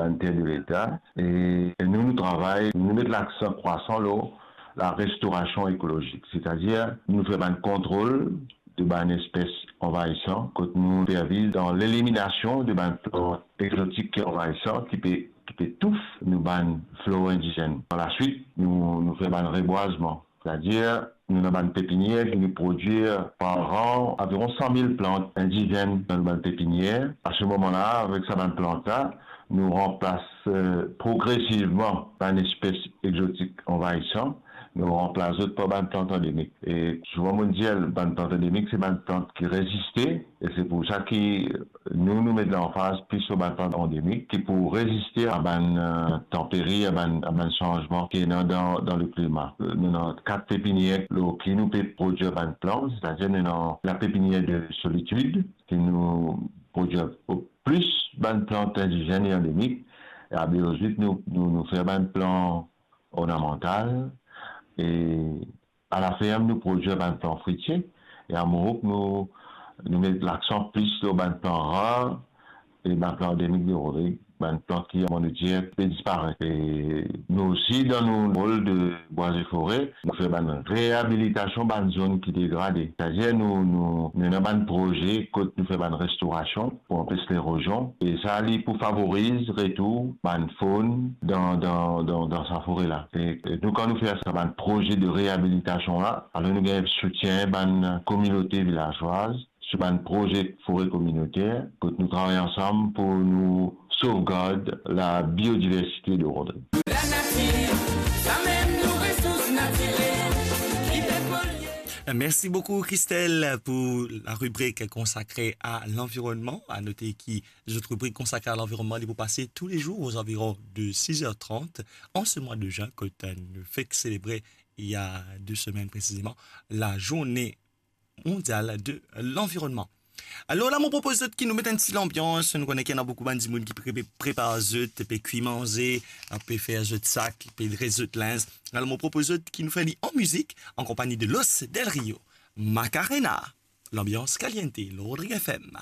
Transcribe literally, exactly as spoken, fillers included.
bann ter de Leta, e nou, nou travay, nou met laksan krasan lor larestorasion ekolozik, setadir nou fer bann kontrol de bann espes anvayisan, kot nou intervinn dan leliminasion de bann plant egzotik ki anvayisan, ki pe, ki pe touf nou bann flor indizenn. Par laswit, nou, nou fer bann rebwazman. Setadir, nou ena bann pepinier ki nou prodwir par an aviron san mil plant indizenn dan nou bann pepinier. A se moman la, avek sa bann plant la, nou ranplas, eh, progresivman bann espes egzotik anvayisan, nou ranplas zot par bann plant andemik. E souvan, mo dir, bann plant andemik, se bann plant ki reziste, e se pou sa ki nou, nou met lanfaz plis lor bann plant andemik ki pou reziste a bann, eh, tanperi, a bann, a bann sanzman ki ena dan, dan leklima. Nou ena kat pepinier lor ki nou pe prodwir bann plant, setadir nou ena lapepinier de Solitude, ki nou prodwir plis bann plant indizenn e andemik, e a Beyozit, nou, nou, nou fer bann plant ornamantal, e a laferm, nou prodwir bann plant fritie, e a Morouk, nou, nou met laksan plis lor bann plant rar e bann plant andemik de Rodrig, bann plant ki, kouma nou dir, pe disparet. E nou osi, dan nou rol de bwazeforest, nou fer bann reabilitasion bann zonn ki degrade. Setadir nou, nou, nou ena bann proze kot nou fer bann restorasion pou anpes lerozion. E sa, li pou favoriz retour bann fonn dan, dan, dan, dan sa fore la. E, e nou, kan nou fer sa bann proze de reabilitasion la, alor nou gagn soutien bann kominote vilazwaz sou bann proze fore kominoter, kot nou travay ansam pou nou sovgard labiodiversite de Rodrig. Lanatir, samem nou resours natirel, ki pe polye. Merci beaucoup, Christelle, pour la rubrique consacrée à l'environnement. À noter que notre rubrique consacrée à l'environnement, elle est passée tous les jours aux environs de six heures trente en ce mois de juin, que nous fêtons célébrer il y a deux semaines précisément la journée mondial de l'environnement. Alor la, mo propoz zot ki nou met enn ti lanbians. Nou kone ki ena boukou bann dimoun ki pre-, prepar zot, pe kwi manze, pe fer zot sak, pe dres zot linz. Alor mo propoz zot ki nou fer li an mizik, an konpagni de Los Del Rio, Macarena, L'Ambiance Caliente, lor Rodrig F M.